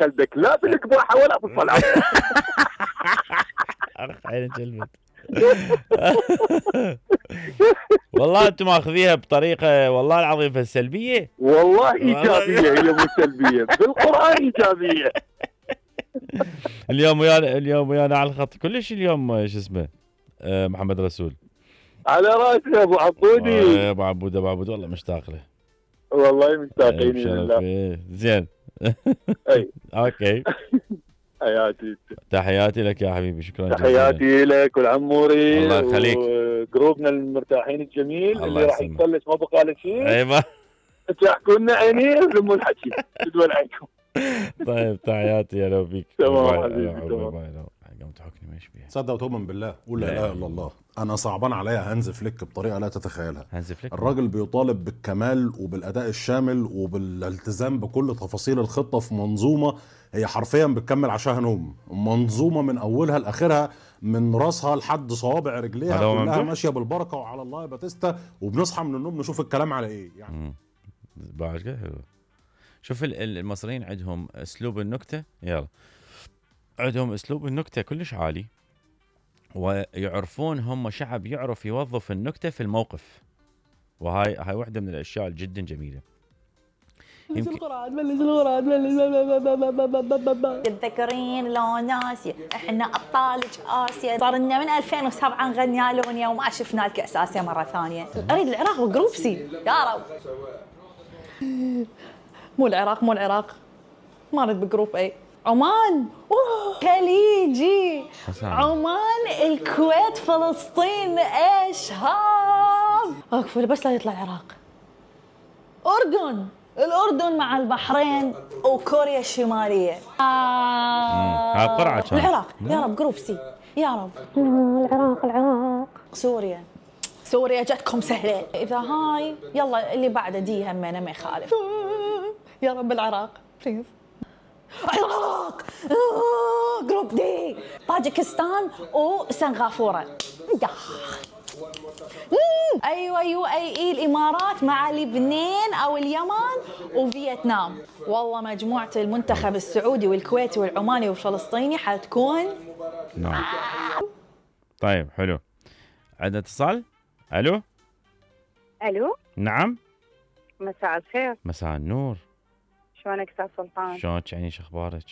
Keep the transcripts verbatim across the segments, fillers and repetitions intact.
كلبك لا بالقباحه ولا بالصلاه. عين كلبك. والله انتم ماخذيها بطريقه والله العظيم فالسلبيه. والله ايجابيه هي مو سلبيه، بالقران ايجابيه. اليوم ويانا اليوم ويانا على الخط كلش اليوم شو اسمه أه محمد رسول. على راسي يا ابو عبودي. يا ابو عبود ابو عبود والله مشتاق له. والله مشتاقين لله. زين. اي اوكي. حياتي تحياتي لك يا حبيبي، شكرا جزيلا. تحياتي لك والعموري الله يخليك، وجروبنا المرتاحين الجميل اللي راح يسلمك. يفلش ما بقى له شيء. ايوه تحكوا لنا عيني ولموا الحكي تدول عنكم. طيب تحياتي يا لو بيك. تمام حبيبي تمام. قمت تحكني ما يشبه. تصدق وتؤمن بالله قول لا اله الا الله، انا صعبان عليا هانز فليك بطريقه لا تتخيلها. هانز فليك الراجل بيطالب بالكمال وبالاداء الشامل وبالالتزام بكل تفاصيل الخطه في منظومه هي حرفيا بتكمل عشاها نوم، منظومه من اولها لاخرها من راسها لحد صوابع رجليها كلها ماشيه بالبركه وعلى الله يا باتيستا، وبنصحى من النوم نشوف الكلام على ايه يعني. بعد كده حلو. شوف المصريين عندهم اسلوب النكته، يلا عندهم اسلوب النكته كلش عالي، ويعرفون هم شعب يعرف يوظف النكته في الموقف، وهاي هاي واحده من الاشياء جدا جميله. بلش القرآن بلش القرآن بلش. تتذكرين لو ناسية احنا ابطالك اسيا، صار لنا من ألفين وسبعة نغني الونيا وما شفنا الكأس اسيا مره ثانيه. اريد العراق وجروب سي يا رب. مو العراق مو العراق ما اريد بجروب اي. عمان اوه خليجي. عمان الكويت فلسطين ايش هاب. اكفل بس لا يطلع العراق. اردن الأردن مع البحرين وكوريا الشمالية. ها قرعة كان. العراق يا رب جروب سي يا رب. العراق العراق. سوريا سوريا جتكم سهلة. إذا هاي يلا اللي بعده دي همنا ما يخالف. يا رب العراق بليز. العراق جروب دي طاجكستان وسنغافورة. ايوه يو اي اي الامارات مع لبنان او اليمن وفيتنام. والله مجموعه المنتخب السعودي والكويتي والعماني والفلسطيني حتكون نعم. طيب حلو. عندنا اتصال. الو الو نعم. مساء الخير. مساء النور. شلونك استاذ سلطان؟ شلونك يعني شو اخبارك؟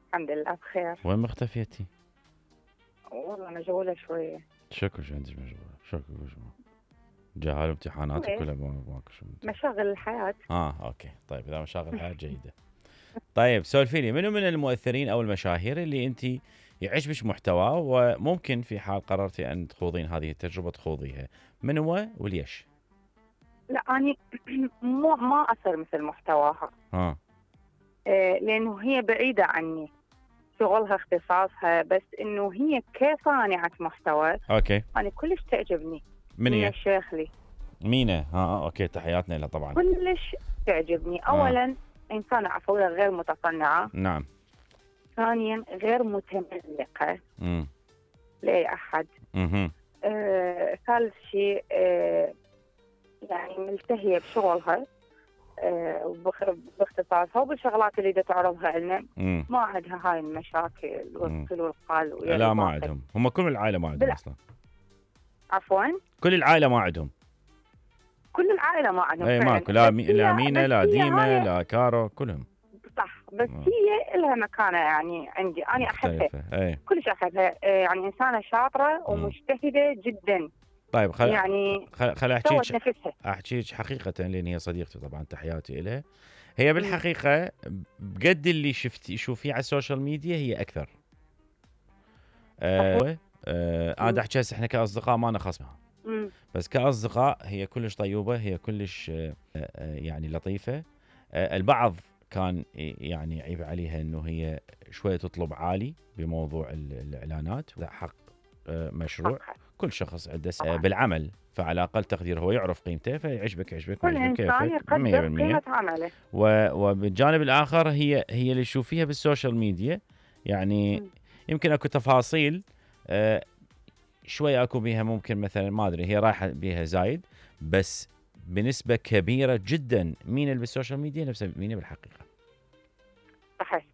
الحمد لله بخير. وين مختفيتي؟ والله مشغوله شويه. شكو شو عندك مشغوله؟ شكو شو؟ جاهل امتحاناتك ولا ماكو شو؟ مشاغل الحياه. اه اوكي طيب اذا مشاغل الحياه جيده. طيب سولفي لي منو من المؤثرين او المشاهير اللي انت يعجبك محتواه وممكن في حال قررتي ان تخوضين هذه التجربه تخوضيها، من هو وليش؟ لا اني مو ما اثر مثل محتواها. اه إيه لانه هي بعيده عني، شغلها اختصاصها، بس انه هي كصانعه محتوى اوكي انا كلش تعجبني. من هي؟ الشيخلي. مينا اه, آه اوكي تحياتنا لها طبعا. كلش تعجبني. اولا آه. انسانه عفويه غير متصنعه. نعم. ثانيا غير متملقه امم لاي احد. اها آه، ثالث شيء آه، يعني ملتهيه بشغلها آه، باختصاصها وبالشغلات اللي دا تعرضها لنا. ما عندها هاي المشاكل والقل والقال. لا ما عندهم، هم كل العائله ما عندهم اصلا. عفوا كل العائله ما عندهم. كل العائله ما عندهم. اي ماكو لا مي... لا مينا لا ديما لا كارو كلهم. صح بس آه. هي لها مكانه يعني عندي انا احبها. اي كلش احبها يعني انسانه شاطره ومجتهده جدا. طيب خل يعني خل خل احكيك احكيك حقيقه لان هي صديقتي طبعا تحياتي لها. هي بالحقيقه بقد اللي شفتي شوفيه على السوشيال ميديا هي اكثر. آه آه انا احكي هسه احنا كاصدقاء ما نخصمها. بس كاصدقاء هي كلش طيوبه، هي كلش آه آه يعني لطيفه. آه البعض كان يعني عيب عليها انه هي شويه تطلب عالي بموضوع الاعلانات. لا حق آه مشروع. كل شخص عنده بالعمل، فعلى اقل تقدير هو يعرف قيمته فيعجبك يعجبك كل انسان يقدر قيمه عمله. وبالجانب الاخر هي هي اللي تشوفيها بالسوشيال ميديا يعني م. يمكن اكو تفاصيل آه شوي اكو بيها ممكن مثلا ما ادري هي رايحه بيها زايد، بس بنسبه كبيره جدا مين اللي بالسوشيال ميديا نفسها مين بالحقيقه. صحيح.